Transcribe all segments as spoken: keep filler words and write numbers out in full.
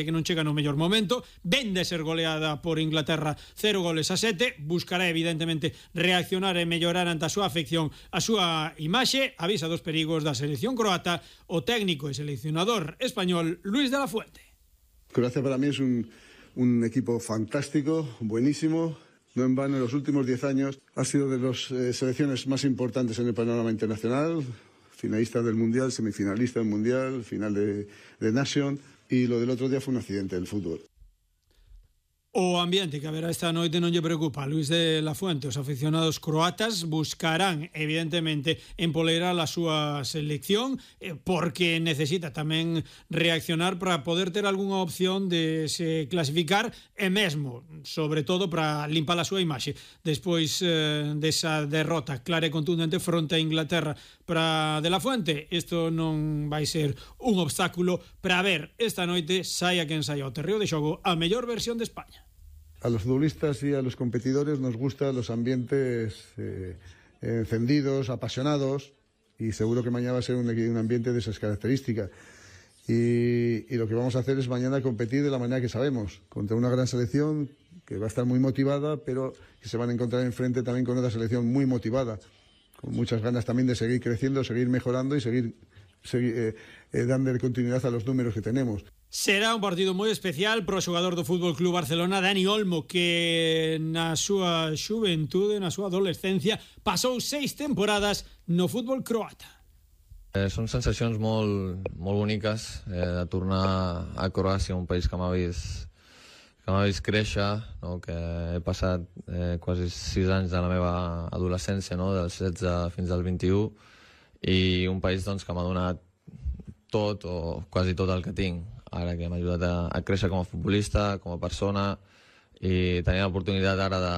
que non chega no mellor momento, ven de ser goleada por Inglaterra cero goles a sete, buscará evidentemente reaccionar e mellorar ante a súa afección a súa imaxe, avisa dos perigos da selección croata o técnico e seleccionador español Luis de la Fuente. Croacia para mí es un, un equipo fantástico, buenísimo. No en vano, en los últimos diez años ha sido de las eh, selecciones más importantes en el panorama internacional, finalista del Mundial, semifinalista del Mundial, final de, de Nation. Y lo del otro día fue un accidente del fútbol. O ambiente que haberá esta noite non lle preocupa. Luis de la Fuente, os aficionados croatas buscarán evidentemente empolerar a súa selección porque necesita tamén reaccionar para poder ter algunha opción de se clasificar e mesmo, sobre todo, para limpar a súa imaxe despois eh, desa derrota clara e contundente fronte a Inglaterra. Para de la Fuente isto non vai ser un obstáculo para ver esta noite, saia quen saia ao terreo de xogo, a mellor versión de España. A los futbolistas y a los competidores nos gustan los ambientes eh, encendidos, apasionados, y seguro que mañana va a ser un, un ambiente de esas características. Y, y lo que vamos a hacer es mañana competir de la manera que sabemos, contra una gran selección que va a estar muy motivada, pero que se van a encontrar enfrente también con otra selección muy motivada, con muchas ganas también de seguir creciendo, seguir mejorando y seguir, seguir eh, eh, dando continuidad a los números que tenemos. Será un partido moi especial pro xogador do Fútbol Club Barcelona, Dani Olmo, que na súa xuventude, na súa adolescencia, pasou seis temporadas no fútbol croata. Eh, són sensacions molt, molt boniques eh, de tornar a Croàcia, un país que m'ha vist, que m'ha vist créixer, no? Que he passat eh, quasi sis anys de la meva adolescència, no? Dels setze fins als vint-i-u, i un país doncs, que m'ha donat tot o quasi tot el que tinc. Ara que m'ha ajudat a, a créixer com a futbolista, com a persona, i tenir l'oportunitat ara de,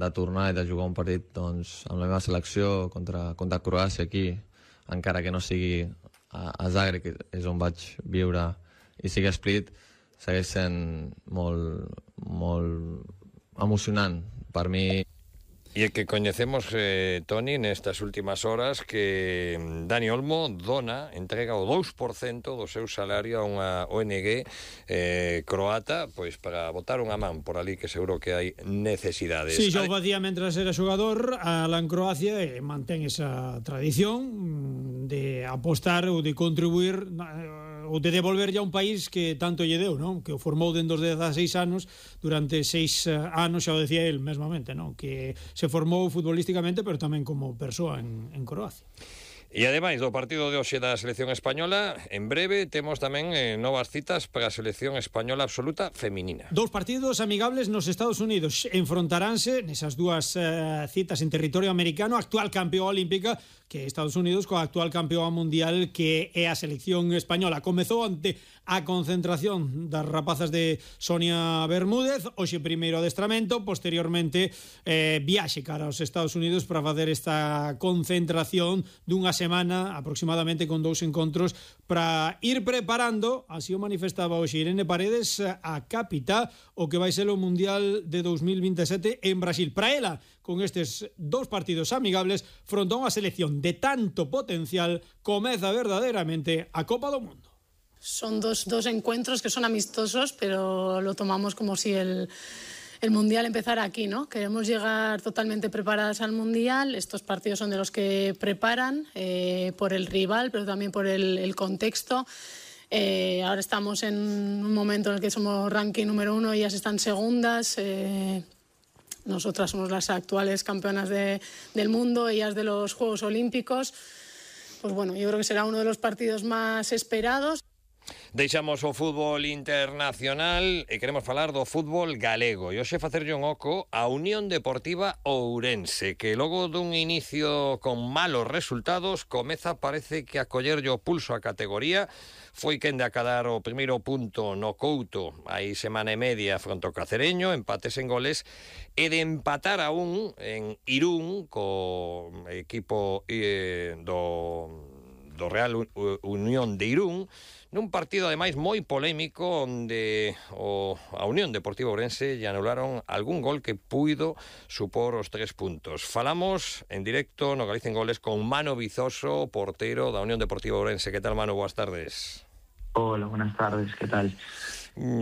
de tornar i de jugar un partit doncs, amb la meva selecció contra, contra Croàcia aquí, encara que no sigui a, a Zagreb, que és on vaig viure, i sigui a Split, segueix sent molt, molt emocionant per mi. E que coñecemos, eh, Toni, nestas últimas horas que Dani Olmo dona, entrega o dous por cento do seu salario a unha O N G eh, croata, pois para botar unha man por ali, que seguro que hai necesidades. Si, sí, xa o facía mentras era xogador alá en Croacia e mantén esa tradición de apostar ou de contribuir ou de devolver ya un país que tanto lle deu, non? Que o formou dende os dezaseis anos, durante seis anos, xa o decía el mesmamente, non? Que se formou futbolísticamente, pero tamén como persoa en, en Croacia. E ademais do partido de hoxe da selección española, en breve temos tamén eh, novas citas para a selección española absoluta feminina. Dous partidos amigables nos Estados Unidos enfrontaránse nesas dúas eh, citas en territorio americano, actual campeón olímpica que Estados Unidos coa actual campeón mundial que é a selección española. Comezou ante a concentración das rapazas de Sonia Bermúdez, hoxe primeiro adestramento, posteriormente eh, viaxe cara aos Estados Unidos para facer esta concentración dunha semana aproximadamente con dous encontros para ir preparando, así o manifestaba hoxe Irene Paredes, a capitá o que vai ser o Mundial de dos mil veintisiete en Brasil. Para ela, con estes dous partidos amigables fronte a unha selección de tanto potencial, comeza verdadeiramente a Copa do Mundo. Son dos, dos encuentros que son amistosos, pero lo tomamos como si el... el Mundial empezará aquí, ¿no? Queremos llegar totalmente preparadas al Mundial. Estos partidos son de los que preparan eh, por el rival, pero también por el, el contexto. Eh, ahora estamos en un momento en el que somos ranking número uno, ellas están segundas. Eh, nosotras somos las actuales campeonas de, del mundo, ellas de los Juegos Olímpicos. Pues bueno, yo creo que será uno de los partidos más esperados. Deixamos o fútbol internacional e queremos falar do fútbol galego. E hoxe facerlle un oco a Unión Deportiva Ourense, que logo dun inicio con malos resultados comeza, parece que a collerlle o pulso a categoría. Foi quen de acadar o primeiro punto no Couto hai semana e media fronte ao Cacereño, empates en goles, e de empatar a un en Irún co equipo eh, do, do Real Unión de Irún, nun partido ademais moi polémico onde o, a Unión Deportiva Ourense lle anularon algún gol que puido supor os tres puntos. Falamos en directo no Galicia en Goles con Mano Vizoso, porteiro da Unión Deportiva Ourense. Que tal, Mano? Boas tardes. Hola, buenas tardes, ¿qué tal?